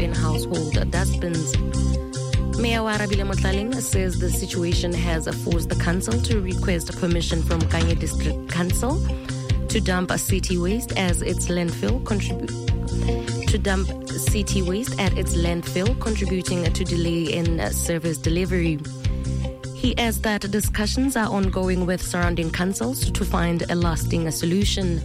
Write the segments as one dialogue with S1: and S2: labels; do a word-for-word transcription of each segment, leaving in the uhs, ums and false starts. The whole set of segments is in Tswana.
S1: in household dustbins. Mayor Oarabile Motlaleng says the situation has forced the council to request permission from Kanye District Council to dump a city waste as its landfill contribute to dump city waste at its landfill, contributing to delay in service delivery. He adds that discussions are ongoing with surrounding councils to find a lasting solution.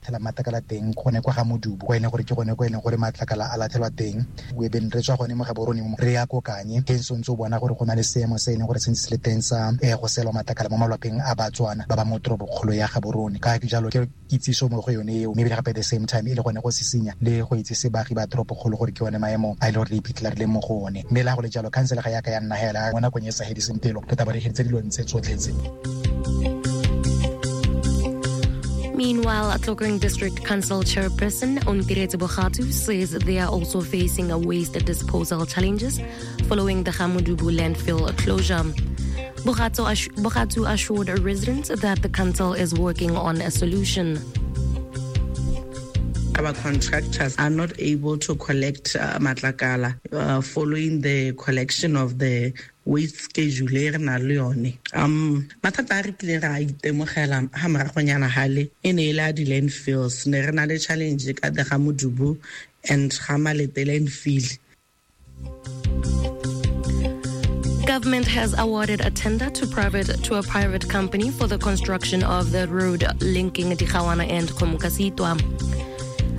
S2: Matlakala teng gone kwa ga Modubu kwa ene gore ke gone kwa ene gore matlakala a latlhelwa teng we been re tswa gone mo Gaborone mo re ya ko Kanye ke ntse o bona gore go na le seemo se ene gore se ntse le teng sa go selwa matlakala mo malapeng a Batswana ba ba mo toropokgolo ya Gaborone ka jalo ke kitsiso mo go yone eo mme gape at the same time e le gone go sisinya le go itsise baagi ba toropokgolo gore ke yone maemo a ile gore re iphitlhela re le mo go one mme la go le jalo council ga ya ka ya nna hela mo nakong e sa hediseng pelo re tla ba re heditse dilo ntse tsotlhe tse.
S1: Meanwhile, Tlokweng District Council Chairperson Ontiretse Bogatu says they are also facing a waste disposal challenges following the Gamodubu landfill closure. Bogatu assured residents that the council is working on a solution.
S3: Our contractors are not able to collect uh, matlakala uh, following the collection of the waste schedule e re nang le yone. Um, mathata a re kileng ra itemogela ha moragonyana hale e ne e le a di-landfills. Ne re na le challenge ka the Gamodubu and Gamalete landfill.
S1: Government has awarded a tender to private to a private company for the construction of the road linking Digawana and Kgomokaseitwa.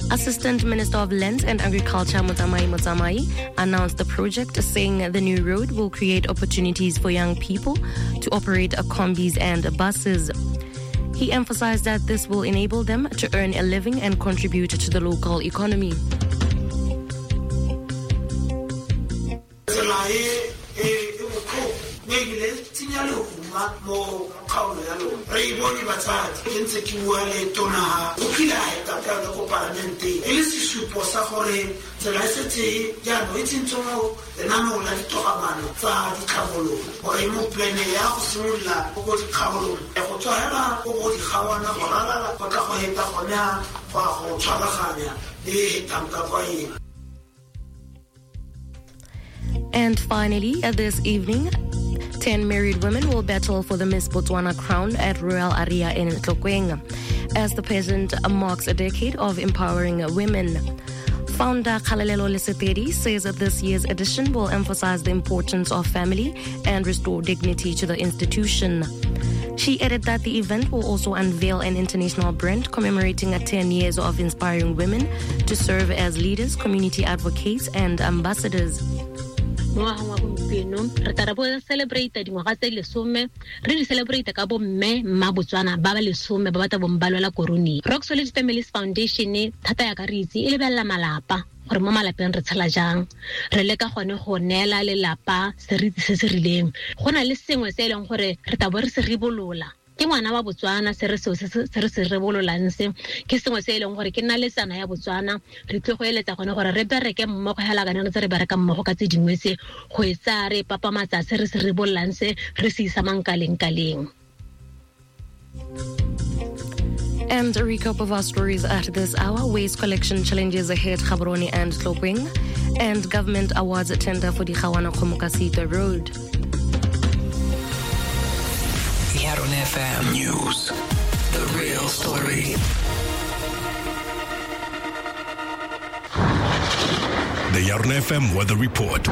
S1: Assistant Minister of Lands and Agriculture Motsamai Motsamai announced the project, saying the new road will create opportunities for young people to operate combis and buses. He emphasized that this will enable them to earn a living and contribute to the local economy. And finally, this evening, ten married women will battle for the Miss Botswana crown at Royal Aria in Tlokweng, as the pageant marks a decade of empowering women. Founder Kgalalelo Lesetedi says that this year's edition will emphasize the importance of family and restore dignity to the institution. She added that the event will also unveil an international brand commemorating ten years of inspiring women to serve as leaders, community advocates, and ambassadors.
S4: Mo ngwageng wa gompieno re tla re bo celebrate dingwaga tse lesome re di celebrate ka bo mme mma Botswana ba ba lesome ba batla bong ba lwela korone. Rock Solid Families Foundation thata ya ka re itse e lebelela malapa gore mo malapeng re tshela jang, re leka gone go neela lelapa seriti se se rileng. Go na le sengwe se e leng gore re tla bo re se ribolola ke ngwana wa Botswana se re se re se rebololang se ke sengwe se e leng gore ke nna letsana ya Botswana re tle go eletsa gone gore re bereke mmogo hela kana re tse re bereka mmogo ka tse dingwe se go etsa re papamatsa se re se rebololang se re se isa mankaleng kaleng.
S1: And a recap of our stories at this hour: waste collection challenges ahead Gaborone and Tlokweng, and government awards tender for the Digawana Kgomokaseitwa Road.
S5: Yarona F M News, the real story.
S6: The Yarona F M Weather Report.